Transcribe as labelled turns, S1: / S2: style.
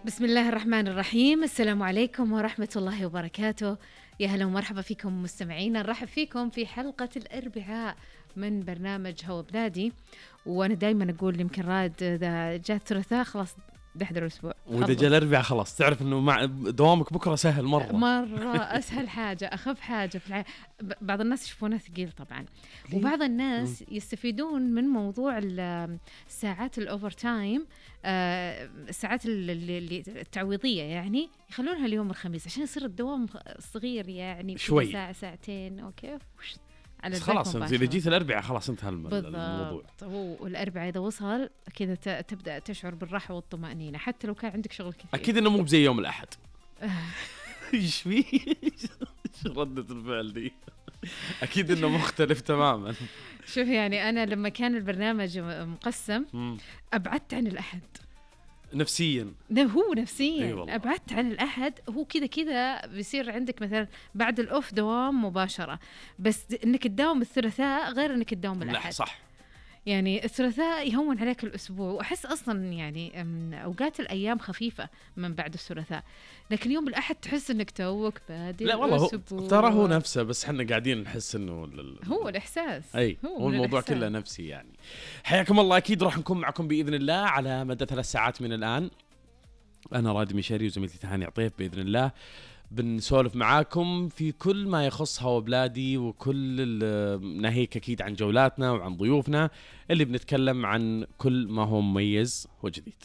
S1: بسم الله الرحمن الرحيم. السلام عليكم ورحمة الله وبركاته. يا هلا ومرحبا فيكم مستمعينا، نرحب فيكم في حلقة الأربعاء من برنامج هوا بلادي. وأنا دايما أقول يمكن راد إذا جاء الثلاثاء خلاص دحضر الأسبوع،
S2: وإذا جاء الأربعاء خلاص تعرف إنه مع دوامك بكرة سهل
S1: مرة أسهل حاجة، أخف حاجة في بعض الناس يشوفونه ثقيل طبعا، وبعض الناس يستفيدون من موضوع الساعات الأوفر تايم، الساعات اللي التعويضية، يعني يخلونها اليوم الخميس عشان يصير الدوام صغير، يعني
S2: شوي
S1: ساعة ساعتين أوكي على
S2: خلاص. انت اذا جيت الاربعاء خلاص انتهى الموضوع.
S1: هو الاربعاء اذا وصل كذا تبدا تشعر بالراحه والطمانينه حتى لو كان عندك شغل كثير.
S2: اكيد انه مو بزي يوم الاحد. ايش في ردة الفعل دي؟ اكيد انه مختلف تماما.
S1: شوف يعني انا لما كان البرنامج مقسم ابعدت عن الاحد
S2: نفسيا.
S1: هو نفسيا أبعدت عن الأحد. هو كذا بيصير عندك مثلا بعد الأوف دوام مباشرة، بس إنك تداوم الثلاثاء غير إنك تداوم الأحد.
S2: صح.
S1: يعني الثلاثاء يهون عليك الأسبوع، وأحس أصلا يعني أوقات الأيام خفيفة من بعد الثلاثاء، لكن يوم الأحد تحس إنك توك بادي.
S2: لا والله ترى هو نفسه، بس حنا قاعدين نحس إنه
S1: هو الإحساس.
S2: هو الموضوع كله نفسي يعني. حياكم الله. أكيد راح نكون معكم بإذن الله على مدى 3 ساعات من الآن. أنا راد مشاري وزميلتي تهاني عطيف بإذن الله بنسولف معاكم في كل ما يخص هوا بلادي، وكل ناهيك أكيد عن جولاتنا وعن ضيوفنا اللي بنتكلم عن كل ما هو مميز وجديد.